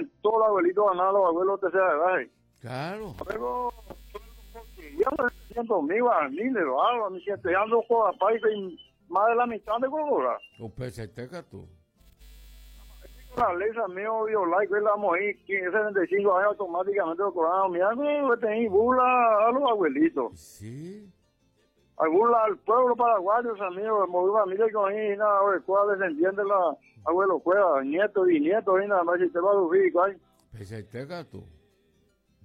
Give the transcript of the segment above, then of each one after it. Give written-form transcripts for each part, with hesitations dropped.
y todos los abuelitos ganan, los abuelos tercera edad. eh. Claro. Luego, 700 mil guaraníes, algo, mi gente, ando con y más de la mitad de cobra. Upeichaite katu. La ley mío viola y que la vamos a ir 75 años automáticamente lo cobramos. Mira, no, tenéis burla a los abuelitos. Sí. A burla al pueblo paraguayo, amigos, movió familia con ahí, nada, cuál descendiente la abuelo cueva, nieto y nieto, y nada más, si te va a sufrir, cuál. Upeichaite katu.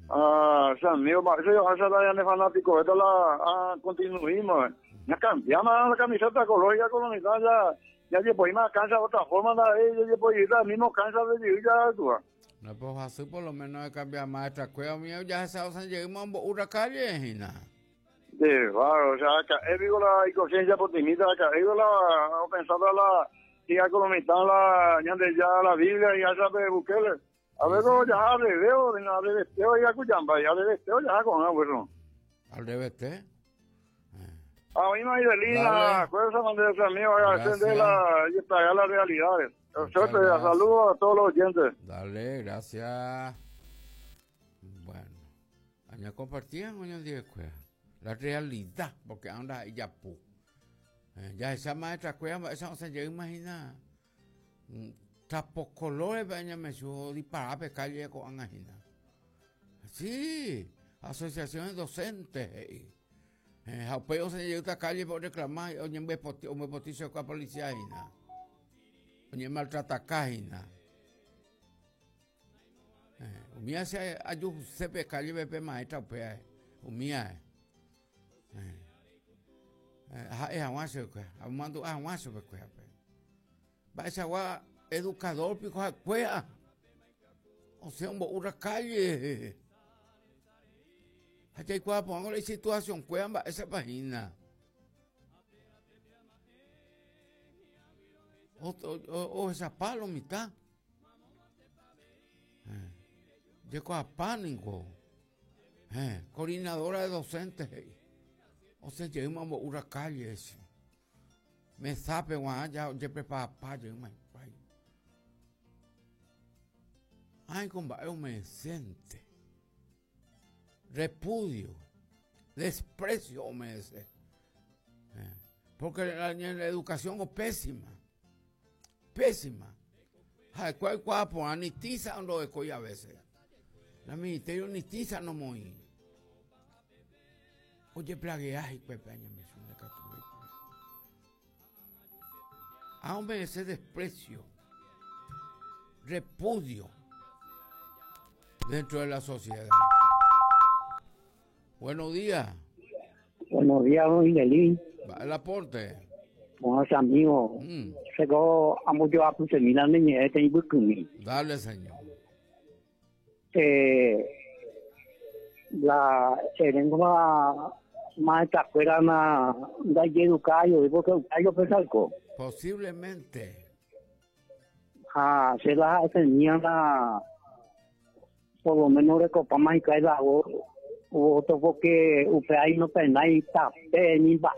Ah, amigo, eso yo hace la de fanático, esto la ah, continuismo. eh. Ya cambiamos la camiseta ecológica colonizada, ya, ya llevo más cansa de otra forma, la ya llevo ir la misma cansa de vivir ya, tú. ah. No, pues así por lo menos de cambiar maestra cueva mío, ya se sabe, llegamos a una calle, Gina. De claro, o sea, acá, he visto la inconsciencia optimista, acá, he visto la, pensando la, y a colonizar la, ya de ya la Biblia, y ya sabe Bukele. A ver, ya al revés, al revés, ya cuyamba, ya al revés, ya con agua, eso. Al revés, ¿eh? A mí me Idelina, Dale. acuérdate de ese amigo, agradecer de la, y pagar las realidades. Muchas Suerte, gracias. saludos a todos los oyentes. Dale, gracias. Bueno, aña compartían hoy en día cueva. La realidad, porque anda ahí ya pu. Eh, ya esa maestra cueva, esa no se llega a imaginar. Trapos colores, aña me subo disparar pe calle con angina. Sí, asociaciones docentes. Eh, eh, jaupeo se llega a esta calle por reclamar, oye, me potizo con la policía, gina. Oye, maltrata cajina. Umia se ayu sepe calle pepe maestra upea. Umia. Eh. Ha e aguaso que, amando aguaso pe cuea pe. Va esa gua educador pico a cuea. O sea, un una calle. Allá hay cuea pongo la situación cuea va esa página. O, o, o esa palo mitad. Llegó a pánico. Eh, coordinadora de docentes. eh. O sea, llegamos a una calle. eso. Me sabe, guau, ya, ya prepara pa, llegamos ahí. Ay, compa, es un decente. Repudio. Desprecio, me dice. Eh, porque la, la educación es pésima. Pésima. Ay, cuál, cuál, pues, ni tiza no de a veces. La ministerio ni tiza no moí. Oye, plagueaje, pepe, me suena Aún ese desprecio, repudio dentro de la sociedad. Buenos días. Buenos días, don Miguelín. Va el aporte. Buenos amigos. Se a mucho a terminar niña este y Dale, señor. Eh, la lengua más escuela na da educayo porque educayo pesalco. Posiblemente. Ah, se la tenía la por lo menos recopa más y cae la otro porque usted ahí no penay tape ni ba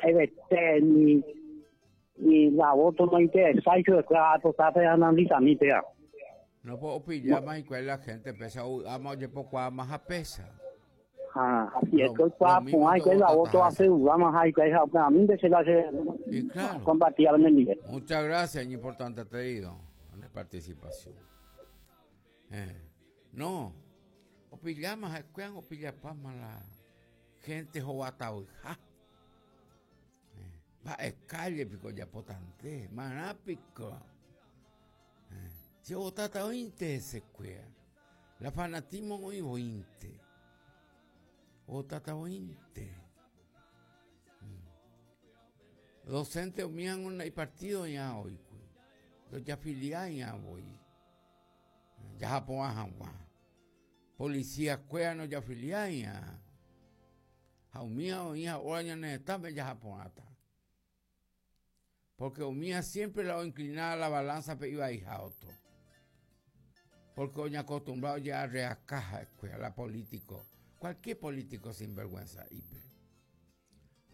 ni ni la voto no interesa y yo claro está analizando ya. No puedo pillar más y cuál la gente pesa, amo yo poco a más a pesa. Ah, así es que cuapo hay que la voto hace más hay que a mí de se la hace Y claro. compartía en el nivel. Muchas gracias, importante te digo, en la participación. Eh, no, o pillama, cuan o pillapama la gente jobata ja. Va escalle pico ya potante, marápico. Eh, si botata ointe se cuea. La fanatismo hoy ointe. Botata ointe. Docente mían una y partido ya hoy. Los ya filial ya voy. Ya Japón a Policía cuea no ya filial ya. Jaumía o hija ahora ya necesitaba ya Japón ata. Porque Omía siempre la inclinaba la balanza pero iba a hija otro. Porque oña acostumbrado ya a reacaja escuela político. Cualquier político sinvergüenza. Ipe.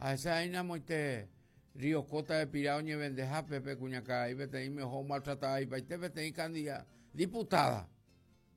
A esa aina moite Río Cota de Pirao ñe vendeja Pepe Cuñacá y vete y mejor maltratada y te vete y candida diputada.